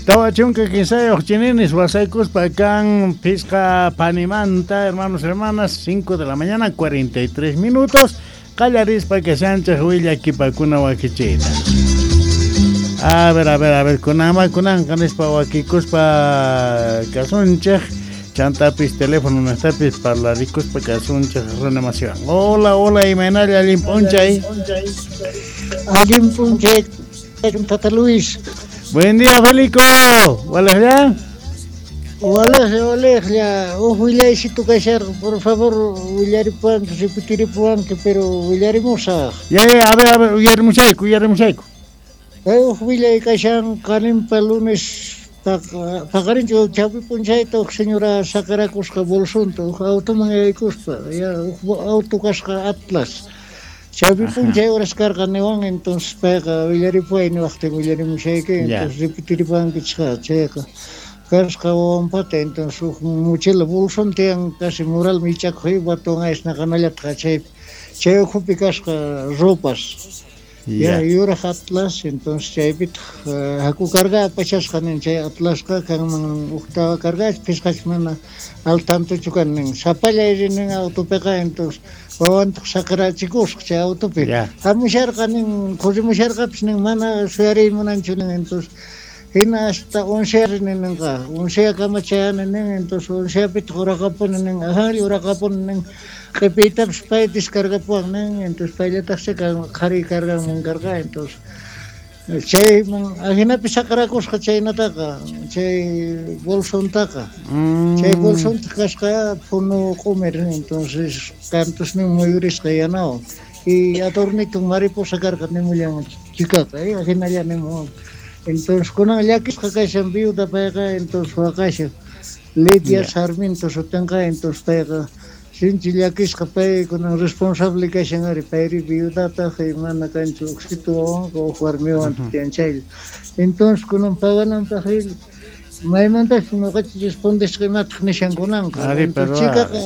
40 chininis wasaykuspa kan pisqa panimanta, hermanos, hermanas, 5 de la mañana, 43 minutos. Qallarispa kashanchik willakipakuna wakichiyta. A ver, a ver, a ver, kunama kunanqa nispa wakikuspa kasunchik. Chantapis teléfono nastapis parlarikuspa kasunchik renamación. Hola, hola, imaynalla allin p'unchay. Allin p'unchay, Tata Luis. Buen día, Felico. Walejlla. Walejlla, walejlla. Uj willaysitu kasharqa, por favor, willaripuwanki, repetiripuwanki, pero willarimusaq. Ya, ya, a ver, uyarimushayku, uyarimushayku. Kay uj willay kashan qaninpa lunes paqarinchu chawpi p'unchayta uj señora saqirakusqa bolsonta, uj automan yaykuspa, ya uj auto kasqa Atlas. Chawpi p'unchay horas karqa niwan, entonces payqa willaripuway niwaqtin willarimushayki, entonces repetiripuwankichik chayqa kasqa wawanpata, entonces uj mochila bolson tiyan casi mural mich'akuq batuwan aysnaqanallataq chaypi chay ukhupi kasqa ropas. Ya yuraq Atlas, entonces chaypitaq haku carga apachasqa nin chay Atlasqa kanman uqtawa cargach phisqach mana al tantochu kan nin sapallay rin autopiqa, entonces wawantaq saqirachikusqa chay autopi. Hamusharqa nin corrimusharqapis nin mana suyariy munanchu nin, entonces hina hasta oncea rin ninqa onceakama chayani nin, entonces onceapitaq uraqapuni nin ajanlla uraqapuni nin q'ipiytapis pay descargapuwan nin, entonces payllataqcha qhari carganman karqa, entonces chayman ajinapi saqirakusqa chaynataqa chay bolsontaqa. Chay bolsontaq kasqa phunu q'umir, entonces kantusnin muyurisqa yanawan y adornito mariposa karqa nimullan chikaqa, ajinalla nimuwan. Entonces kunan llakisqa kashan viuda payqa, entonces waqashan Lidia Sarmiento sutinqa, entonces payqa sinchi llakisqa pay kunan responsable kashan ari payri viudataq y mana kanchu uqsitu wawanqa uj warmiwan tiyan chaylla. Entonces kunan pagananpaq maymantachus ñuqachik respondesqa imataq nishan kunanqa. Chikaqa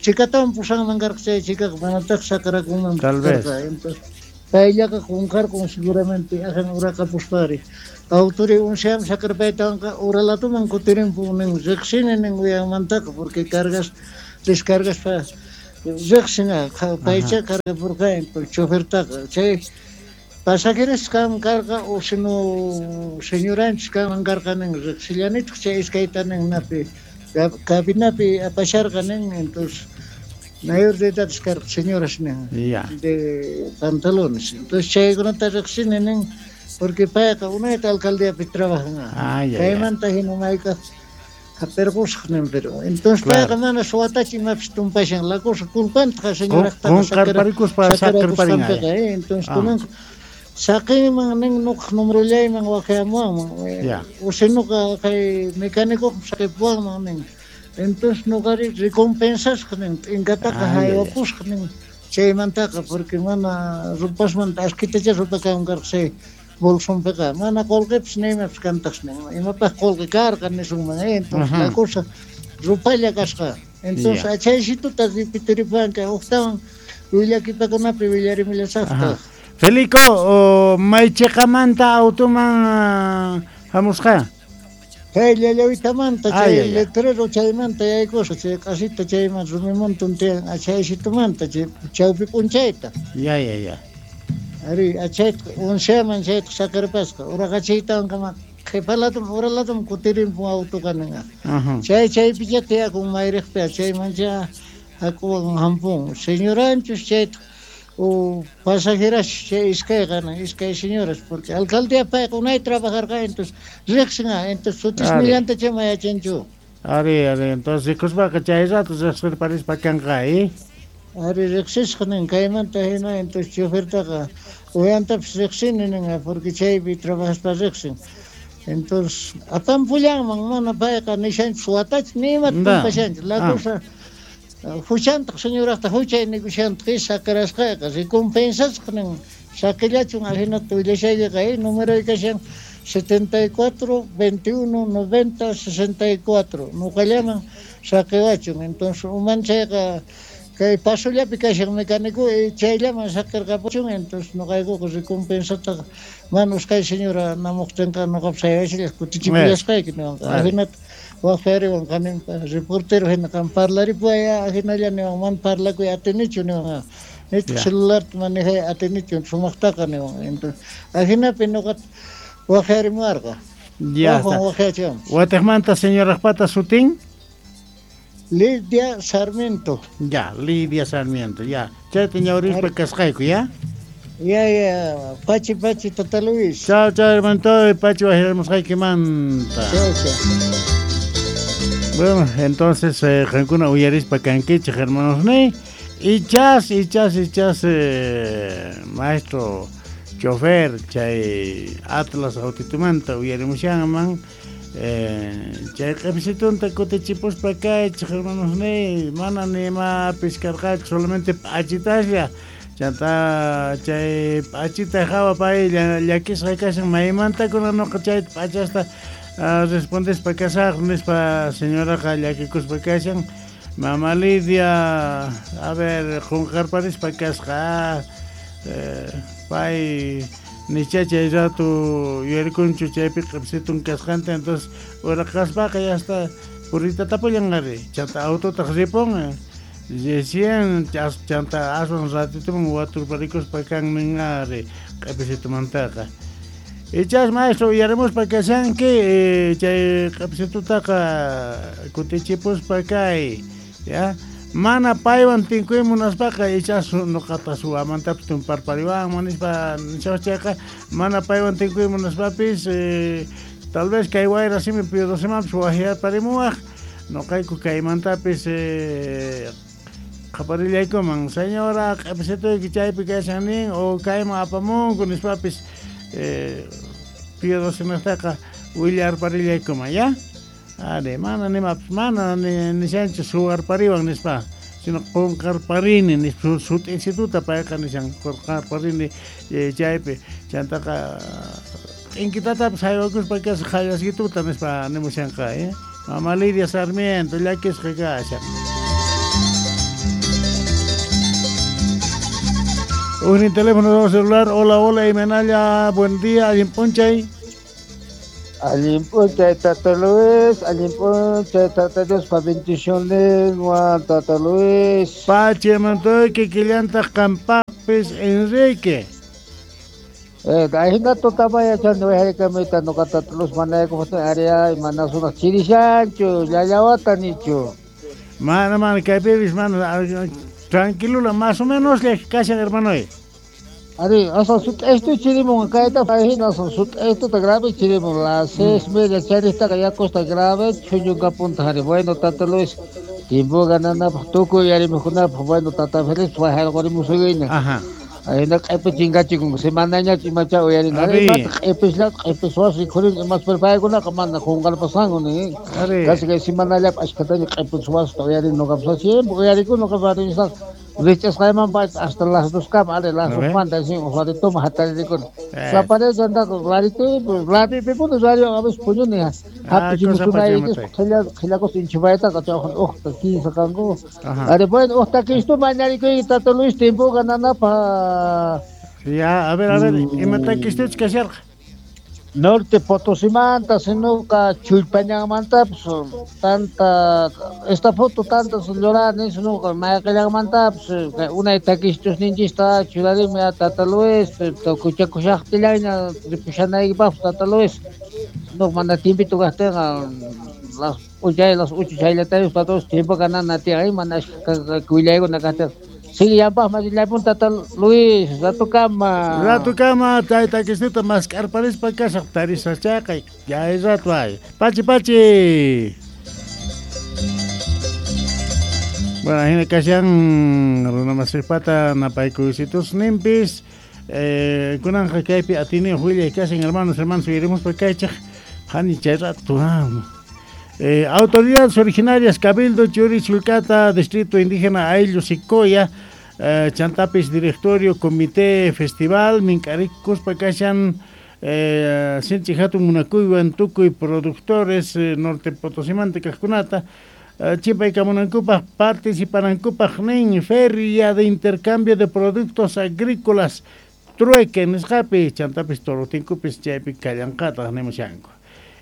chikatawan pusanman karqa chay chikaqa manataq saqirakunman karqa. Entonces payllaqa qunqarqun seguramente ajan uraqapuspari. Autori unseam saqirpaytawanqa uralatuman kutirinpun nin riqsini nin uyanmantaqa porque cargas descargaspa riqsina paycha cargapurqa chofertaqa chay pasajeros kan karqa o sino señoranchis kanman karqa nin riqsillanitaq chay iskayta nin napi cabinapi apasharqa nin, entonces mayor de edad karqa señoras nin de pantalones, entonces chaykunata riqsini nin porque payqa unayta alcaldiapi trabajan chaymanta hina maykaq hap'irqusaq nin, pero entonces payqa mana suwatachu imapis tumpashan la cosa culpantaqa señoraqtaqa saqirparikuspa entonces kunanqa saqinman nin nuqaq numerollayman waqyamuwanman o si nuqa kay mecánicoqa saqipuwanman nin, entonces nuqari recompensasqa nin t'inkataqa haywapusqa nin chaymantaqa porque mana rupasmanta askitacha rupa kanman karqa chay bolsonpiqa mana qullqipis ni imapis kantaqsi nin imapaq qullqi karqa nisunman, entonces la cosa rupalla kasqa, entonces achaysituta repetiripuwanki uqtawan willakipakunapi willarimullasaqtaq. Felico, maychiqamanta automan hamusqa? Kay llallawitamanta chay letrero chaymanta yaykusqa chay q'asita chayman rumimuntun tiyan achaysitumanta chay chawpi p'unchayta. Ya, ya, ya. Ari achayta onceaman chayta saqirpasqa uraqachiytawankama qhipalatum uralatum kutirinpun autoqa ninqa. Chay chaypicha tiyakun mayriqpi chaymancha hakuwan hampun señoranchus chayta o pasajeras chay iskayqa iskay señoras porque alcaldía payqa unay trabajarqa entonces riqsin entonces sutisnillanta chama yachanchu. Ari, ari, entonces rikuspaqa chay rato riqsirparispa kanqa, Ari riqsisqa nin kaymanta hina entonces chofertaqa uyantapis riqsini nin porque chaypi trabajaspa riqsin. Entonces apampullanman mana payqa nishanchu suwatachu ni imata tumpashanchu la cosa huchantaq señoraqta huchay nikushantaq saqirasqayqa recompensasqa nin saqillachun ajinata willashaykiqa número kashan 74 21 90 64 nuqallaman saqiwachun, entonces umanchayqa Kay pasollapi kashan mecánico chayllaman saqirqapuchun, entonces noqaykuqa recompensataqa mana usqhay señora namuqtinqa noqapas haywasillaq kutichipullasqayki niwanqa. Ajinata waqyariwan qaninpa reportero hina qam parlaripuway ajinalla niwan, mana parlakuy atinichu niwan. Nitaq celularta manejay atinichu sumaqtaqa niwan. Entonces ajinapi noqata waqyarimuwarqa. Ya está. Watiqmanta señoraqpata sutin? Lidia Sarmiento. Ya, Lidia Sarmiento, ya. Chayta ñawrispa kasqayku, ya? Ya, ya. Pachi, pachi, Tata Luis. Chao, chao, hermanito. Pachi, wajiramusqaykimanta. Chao, chao. Bueno, entonces, qankuna uyarispa kankichik, hermanos ni. Ichas, ichas, ichas, maestro chofer, chay Atlas autitumanta uyarimushanman. Chay q'ipisitunta kutichipuspa kaychik, hermanos ni, mana ni imapis karqachu, solamente p'achitaslla. Chanta chay p'achita hawa pay llakisqa kashan, maymantakuna noqa chay p'achasta respondespa kasaq nispa señoraqa llakikuspa kashan. Mama Lidia, a ver, qunqarparispa kasqa, pay nicha chay rato yuyarikunchu chaypi q'ipsitun kasqanta, entonces uraqaspaqa ya está purita tapullan ari, chanta autotaq ripun, recién chanta aswan ratituman waturparikuspa kan nin ari q'ipsitumantaqa. Ichas maestro uyarimuspa kashanki, chay q'ipsitutaqa kutichipuspa kay, ya. Mana paywan tinkuy munaspaqa ichas noqata suwamantapis tumparpariwanman nispa nishawachayqa, mana paywan tinkuy munaspapis tal vez kay wayra simi piodosimanpis wajyarparimuwaq, noqayku kaymantapis qaparillaykuman, señora q'ipsituyki chaypi kashan nin o kayman apamunku nispapis piodosimantaqa willarparillaykuman, ya. Are, mana nimapis, mana nishanchu suwarpariwan nispa, sino qunqarparini nispa, sut'insituta payqa nishan qunqarparini chaypi, chantaqa t'inkitatapis haywakuspa kasqa qallasquituta nispa nimushanqa, Mama Lidia Sarmiento llakisqa kashan. Ujnin teléfono celular, hola, hola, imanalla, buen día, allin p'unchay. Allin p'unchay, Tata Luis, allin p'unchay, Tata Dios, pa bendiciones, Tata Luis. Pachi, mantoyki, killantaq qampaqpis, Enrique. Ahina tutamaya chani wayhaykamita nuqa Tata Luis manaykuqtin aria mana sunaq chirishanchu, llallawata nichu. Mana, mana, kaypipis, mana, tranquilula, más o menos kashan, hermanoy. Ari, asa sut'aystu chirimun, kayta ahina asa sut'aystuta grave chirimun, las 6:30 charistaqa yakusta grave chuñunka punta hari. Bueno, Tata Luis, tiempo gananapaq tukuy yarimuqkunapaq, bueno, Tata Félix wajayqurimusuguiña. Ajá. Ahina q'ipi chinkachikun, semanañachu imacha uyarina. Ari. Imata q'ipisla, q'ipis wasi rikhurin, imas pero paykunaqa mana qunqarpasqanku ni. Ari. Casi kay semanallapi ashkhataña q'ipis wasita uyarin noqapas, siempre uyarikun noqapas rinisaq. Richasqayman hasta las 2 kama, ari, las 2 manta, sí, un ratito más hatarikun. Saparece andar rarito, rari, pipuno, radio, a veces puño, ni, hapi, Cosa chimusunay, pa' es llamarte. qhillakos inchubaytaqa, chawjan, uqta, quince kanku. Ajá. Ari, bueno, uqta quince, mañarikuy, Tata Luis, tiempo gananapa. Ya, a ver, a ver, imata kistuch kasharqa? Norte Potosimanta, sinuka Chullpañanmantapis, tanta, esta foto tanta llorani, sinuka Mayaqillanmantapis, unay takistus ninchista churarimi a Tata Luis, tukuchakushaqtillayña ripushanaypaqpas Tata Luis, no mana tiempito kaqtinqa, las p'unchay, las 8 chayllatayus Tata Luis, tiempo ganana tiyan, mana kullaykuna kaqtinqa. Sigue ya pa, más la punta tal Luis, rato kama. Rato kama, tayta kistuta maskarparispa kasaq tarisa chaqay. Ya es rato ay. Pachi, pachi. Bueno, ahí kashan runa masipata napaykusitus nimpis. Kunanja kaypi atini willay kashan hermanos, hermanos, iremos pa kaychaq. Hani chay rato, ah. Autoridades originarias, Cabildo, Churi, Chulcata, Distrito Indígena, Ayllu, Sicoya, Chantapis, Directorio, Comité, Festival, Mincarik, Cuspa, Kashan, Sinchi Hatun, Munakuywan, Tukuy, productores, Norte Potosimante, Cajcunata, Chimpaykamunankupaq participanankupaq nin Feria de Intercambio de Productos Agrícolas Trueque nisqapi chantapis torutinkupis chaypi kallanqataq nimushanku.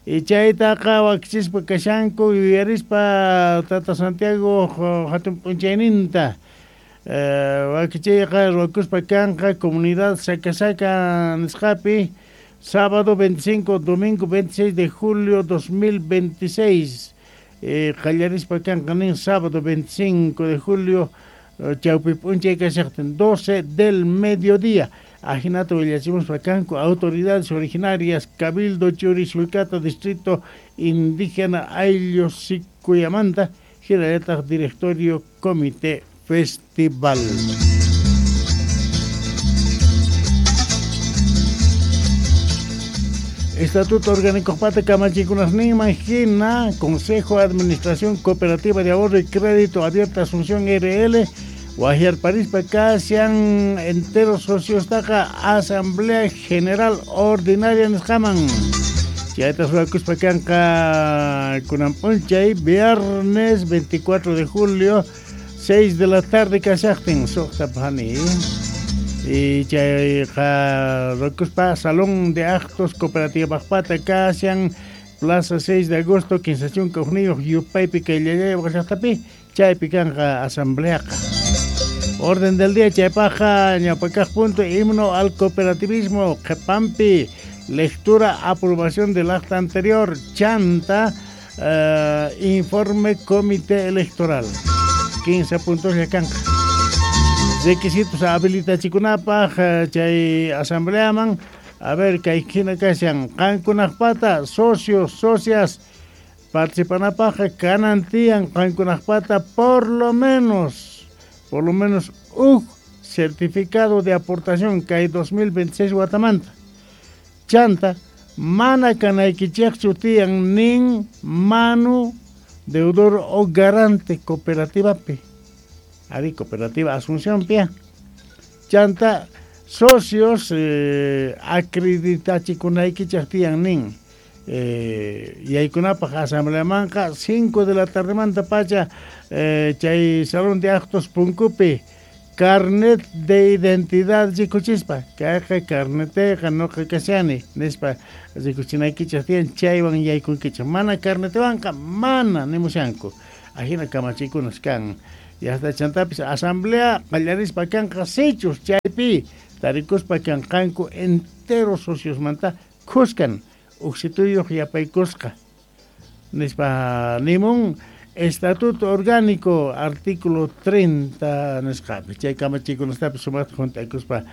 Y chaytaqa wakichispa kashanku yuyarispa Tata Santiago hatun p'unchayninta wakichiyqa ruwakuspa kanqa comunidad Sacasaka nisqapi sábado 25, domingo 26 de julio 2026. Qallarispa kanqa nin sábado 25 de julio chawpi p'unchay kashaqtin 12 del mediodía. Ajinata willachimuspa kanku autoridades originarias Cabildo Churishulcata Distrito Indígena Ayllu Sicuyamanta hinallataq Directorio Comité Festival. Estatuto Orgánico Pata Kamachiykunasninman hina Consejo de Administración Cooperativa de Ahorro y Crédito Abierta Asunción RL Wahyarparispa kashan enteros socios taqa Asamblea General Ordinaria nisqaman. Chayta ruwakuspa kanqa kunan p'unchay viernes 24 de julio 6 de la tarde kashaqtin suqta phani. Y chayqa ruwakuspa Salón de Actos Cooperativa Pata kashan Plaza 6 de agosto 15 yupaypi kay Llallay llaqtapi chaypi kanqa asambleaqa. Orden del día chaypaqa ñawpakaq punto himno al cooperativismo qhepampi lectura aprobación del acta anterior chanta informe comité electoral 15 puntos ya kanqa. Requisitos habilitachikunapaq chay asambleaman a ver kay hina kashan qankunaqpata socios socias participanapaq kanan tiyan qankunaqpata por lo menos un certificado de aportación kay 2026 watamanta chanta mana kanaykichikchu tiyan nin manu deudor o garante cooperativapi ari cooperativa Asunción pia chanta socios acreditachikunaykichik tiyan nin yaykunapaq asambleamanqa 5 de la tardemanta pacha chay salón de actos punkupi carnet de identidad rikuchispa kayqa carneteqa nuqa kashani nispa rikuchinaykichik tiyan chaywan yaykunkichik mana carnetewanqa mana nimushanku ajina kamachikunas kan y hasta chantapis asamblea qallarispa kanqa sichus chaypi tarikuspa kanqanku entero sociosmanta khuskan uksituyuq yapaykusqa nispa nimun Estatuto Orgánico artículo 30 nisqapi chay kamachikunastapis sumaqta juntaykuspa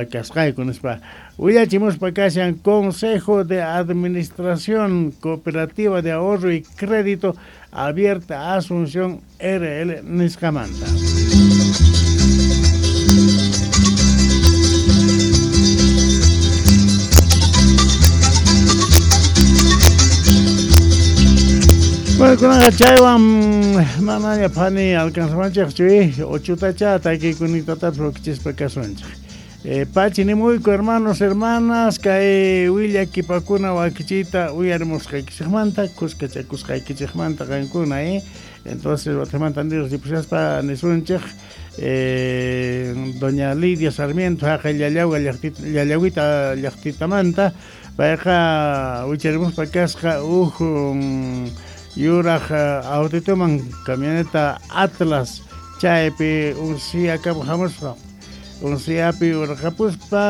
kasqayku nispa willachimuspa kashan Consejo de Administración Cooperativa de Ahorro y Crédito Abierta Asunción RL nisqamanta. Bueno, kunanqa chaywan manaña phani alcanzawanchikchu ochutacha takikunitatapas wakichispa kasunchik. Pachi nimuyku hermanos, hermanas, kay willakipakuna wakichiyta uyarimusqaykichikmanta, kuskachakusqaykichikmanta qankuna, Entonces, watimanta nirqipusaspa nisunchik doña Lidia Sarmiento haqay Llallawga Llallawita llaqtitamanta payqa wicharimuspa kasqa huk yuraq autituman camioneta Atlas chaypi unsiyakamu hamuspa unsiyapi urqapuspa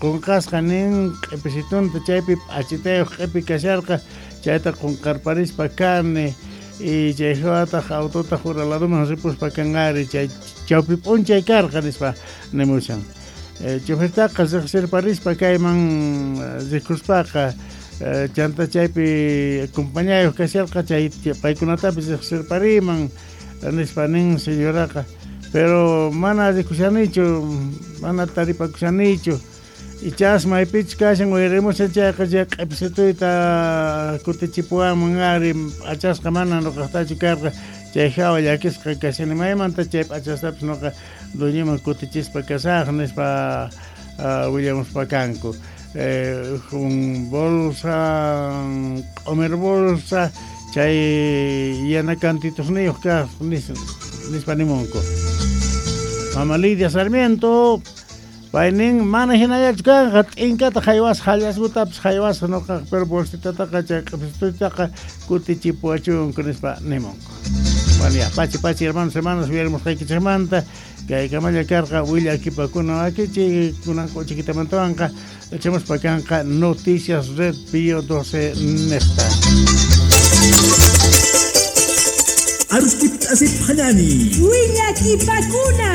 qunqasqa nin q'ipisitunta chaypi p'achitayuq q'ipi kasharqa chayta qunqarparispa kani y chay hawataq autotaq ura laduman ripuspa kanqari chay chawpi p'unchay karqa nispa nimushan chofertaqa riqsirparispa kayman rikuspaqa chanta chaypi compañayuq kasharqa chay paykunatapis riqsirpariman nispa nin señoraqa pero mana rikushanichu mana taripakushanichu ichas maypichus kashan uyarimushan chayqa chay q'ipisituyta kutichipuwanman ari p'achasqa mana nuqaqtachu karqa chay hawa llakisqa kashani maymanta chay p'achastapis nuqa dueñoman kutichispa kasaq nispa willamuspa kanku un bolsa, comer bolsa, Chay yana kantitusniyuq kaq nispa nimunku. Mama Lidia Sarmiento paynin mana hinallachu kanqa t'inkata haywasqa hallasqutapas haywasqa nuqa pero bolsitataqa chay q'ipistutaqa kutichipuwachunku nispa nimunku. Bueno, ya, pachi pachi hermanos hermanas uyarimusqaykichikmanta kay kamalla karqa willakipakuna wakichi kunanqa uchikitamantawanqa echamuspa kanqa Noticias Red Pío 12 nesta. Arustip asip hanani. Willakipakuna.